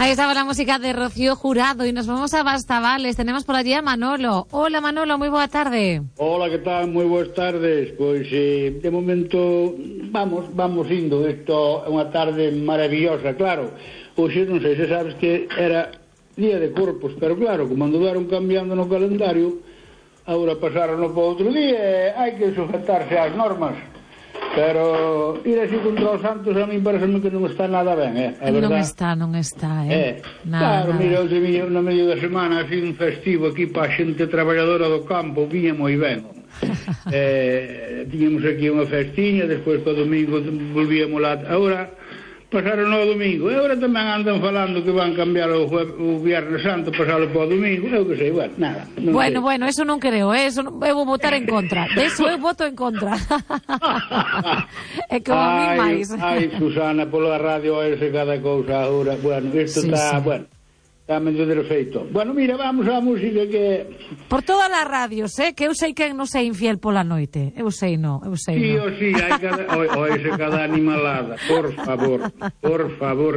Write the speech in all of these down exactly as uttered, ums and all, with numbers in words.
Ahí estaba la música de Rocío Jurado y nos vamos a Bastavales. Tenemos por allí a Manolo. Hola Manolo, muy boa tarde. Hola, que tal? Moi boas tardes. Pois eh, de momento vamos, vamos indo. Isto é unha tarde maravillosa, claro. Hoxe non sei se sabes que era Día de Corpos, pero claro, como andaron cambiando no calendario, agora pasaron para outro día, hai que sujetarse ás normas. Pero ir así contra os santos a mí pareceme que non está nada ben, eh? A non está, non está, eh? eh nada, claro, nada. mira, outro día, no medio da semana, así un festivo aquí para a xente traballadora do campo, viña moi ben. eh, tiñamos aquí unha festiña, despois para o domingo volvíamos lá. Agora pasaron ao domingo, e agora tamén andan falando que van cambiar o, o Viernes Santo, pasalo para o domingo, eu que sei, bueno, nada. Bueno, sei. bueno, eso non creo, eh? Eso non, eu vou votar en contra, de eso eu voto en contra. É como a mí máis. Ai, Susana, pola radio ese cada cousa agora, bueno, isto está, sí, sí. bueno, está medio defeito. Bueno, mira, vamos á música que... Por todas as radios, eh? Que eu sei que non sei infiel pola noite. Eu sei, non, eu sei, sí, non. Sí, o sí, hai cada... O, o ese cada animalada, por favor, por favor.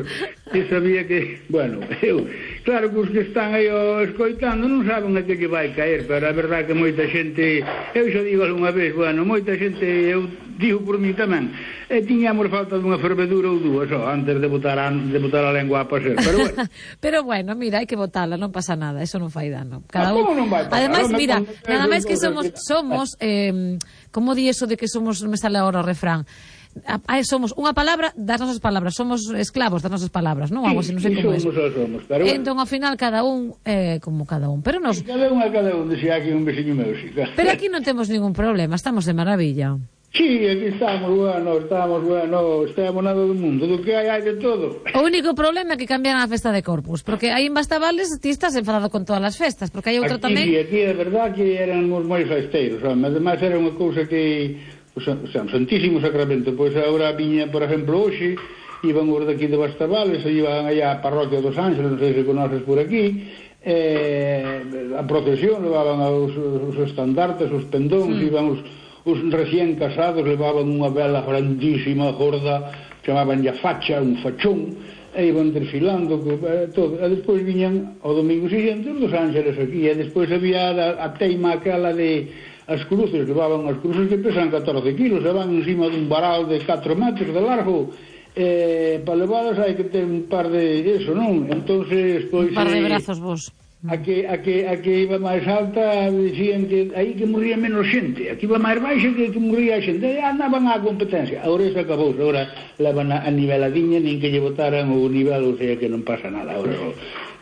Eu sabía que... Bueno, eu... Claro que os que están aí o escoitando non saben a que lle vai caer, pero a verdade que moita xente... Eu xa digo algunha vez, bueno, moita xente, eu digo por mí tamén, e tiñamos falta dunha fervedura ou dúas, ó, antes de botar a, de botar a lengua a pasear, pero bueno. Pero bueno, mira, hai que botala, non pasa nada, eso non fai dano. Cada un... non vai pasar? Ademais, Non mira, me... nada máis que somos, somos eh, como di eso de que somos, non me sale agora o refrán, Ah, somos unha palabra das nosas palabras, somos esclavos das nosas palabras, non? Algo así, non sei como é. Somos, somos, pero bueno. Entón, ao final, cada un é eh, como cada un. Pero nos... Cada un a cada un, decía aquí un veciño meu, sí. Pero aquí non temos ningún problema, estamos de maravilla. Sí, aquí estamos, bueno, estamos, bueno, estamos nada do mundo, do que hai, hai de todo. O único problema é que cambian a festa de Corpus, porque aí en Bastavales ti estás enfadado con todas as festas, porque hai outra aquí, tamén... Sí, aquí é verdad que éramos moi festeiros, ademais era unha cousa que... O Santísimo Sacramento, pois agora viña, por exemplo, hoxe iban os daqui de Bastavales, iban allá a parroquia dos Ángeles, non sei se conoces por aquí, eh, a procesión levaban os, os estandartes, os pendóns, sí. Iban os, os recién casados, levaban unha vela grandísima, gorda, chamaban ya facha, un fachón, e iban desfilando, eh, todo. E despois viñan ao domingo siguiente os dos Ángeles aquí, e despois había a, a teima aquela de... As cruces, levaban as cruces que pesan catorce kilos, e van encima dun varal de catro metros de largo, eh, para levadas hai que ter un par de eso, non? Entonces, pois... Un par de eh, brazos vos. A que, a, que, a que iba máis alta, dicían que aí que morría menos xente, aquí iba máis baixa que, que morría a xente, e andaban á competencia. Agora isso acabou, agora levan a, a niveladiña, nin que lle botaran o nivel, o sea que non pasa nada, agora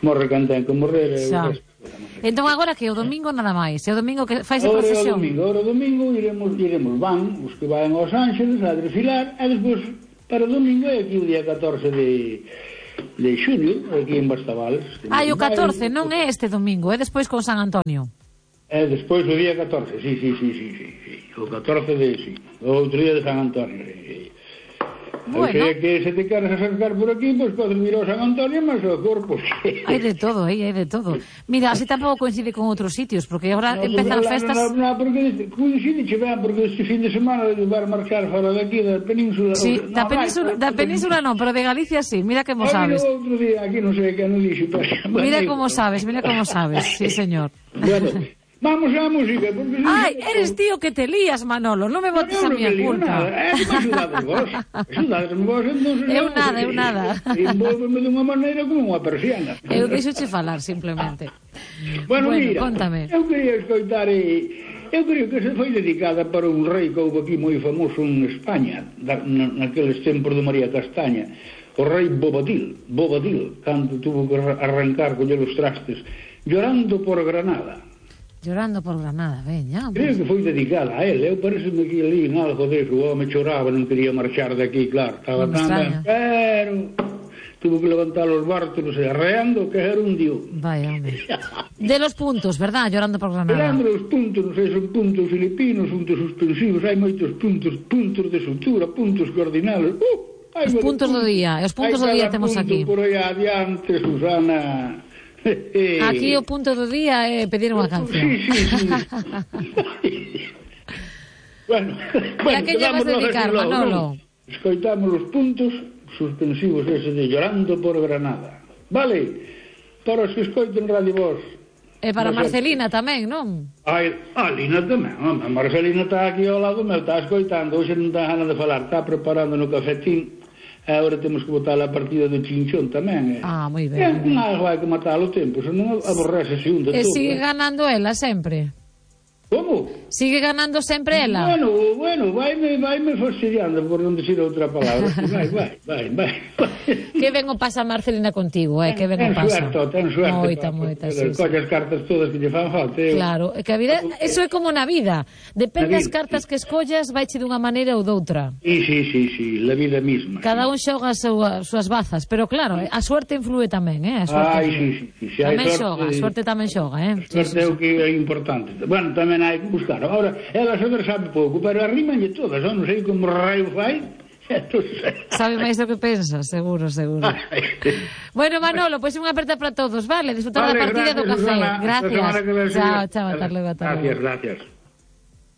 morre can ten que morrer, e o resto. Entón agora que o domingo nada máis, é o domingo que fais a procesión. Agora o domingo, agora o domingo iremos, iremos van, os que van aos Ángeles a desfilar, e despois para o domingo é aquí o día catorce de, de xunio, aquí en Bastavales. Ah, o catorce, non é este domingo, é despois con San Antonio. É despois o día catorce, sí, sí, sí, sí, sí, sí. O catorce de, sí, o outro día de San Antonio, sí, sí. Bueno. O sea que se te queres acercar por aquí, pois pues, podes vir ao San Antonio máis ao Corpus. Hai de todo, aí, hai de todo. Mira, así tampouco coincide con outros sitios, porque agora no, empezan as festas... Non, no, no, porque coincide che ben, porque este fin de semana vai marchar fora daqui da península... Sí, no, da península, vai, da península non, pero de Galicia sí, mira como sabes. Mira outro día, aquí non sei que non dixo. Mira como sabes, mira como sabes, sí señor. Bueno... Vamos á música, porque... Ai, eres tío que te lías, Manolo, non me botes a miña culpa. É que me axudades vos, axudades vos, entón... Eu nada, eu nada. Envolveme dunha maneira como unha persiana. Eu deixoche falar, simplemente. Bueno, bueno, mira, contame. Eu quería escoitar e... Eu creo que se foi dedicada para un rei que houve aquí moi famoso en España, naqueles tempos de María Castaña, o rei Bobadil, Bobadil, cando tuvo que arrancar, coller os trastes, llorando por Granada. Llorando por Granada, veña. Creo que foi dedicada a él. Eu pareceme que ali en algo deso. O home choraba, non quería marchar de aquí, claro. Estaba tan ben, pero tuvo que levantar os bártulos e arreando que era un dios. Vaya, home. De los puntos, verdad? Llorando por Granada. Llorando los puntos, non sei, son puntos filipinos, puntos suspensivos, hai moitos puntos, puntos de sutura, puntos cardinales. Uh, os puntos do día, os puntos do día temos aquí. Por aí adiante, Susana... Aquí o punto do día é pedir unha canción. Sí, sí, sí. bueno, bueno, a que lle vas dedicar, Manolo? Escoitamos os puntos suspensivos ese de Llorando por Granada. Vale, para os que escoiten Radio Voz. E para Marcelina tamén, non? Ai, a Lina tamén, a Marcelina está aquí ao lado meu, está escoitando, hoxe non está ganas de falar, está preparando no cafetín, e agora temos que botar a partida do chinchón tamén. Ah, moi ben. É un algo hai que matar o tempo, se non aborrece se un de todo. E sigue ganando ela sempre? Como? Sigue ganando sempre ela? Bueno, bueno, vaime, vaime fastidiando por non dicir outra palabra. Vai, vai, vai, vai. Que ben o pasa Marcelina contigo, eh? Que ben o pasa. Ten suerte, ten suerte. Moita, moita, sí, sí. Colle as cartas todas que lle fan falta. Eu. Claro, é que a vida, eso é como na vida. Depende das cartas que escollas, vaiche dunha maneira ou doutra. Sí, sí, sí, sí, la vida misma. Cada un xoga as súas bazas, pero claro, a suerte influe tamén, eh? A suerte Ai, influe. sí, sí, sí. Tamén xoga, a suerte tamén xoga, eh? A suerte é o que é importante. Bueno, tamén hai que buscar. Ahora, ela só sabe pouco, pero arrimañe todas, non sei como raio fai. Sabe máis do que pensa, seguro, seguro. Bueno, Manolo, pois pues unha aperta para todos, vale? Disfrutar vale, da partida gracias, do café. Susana, gracias. Chao, chao, ata logo, ata logo. Gracias, gracias.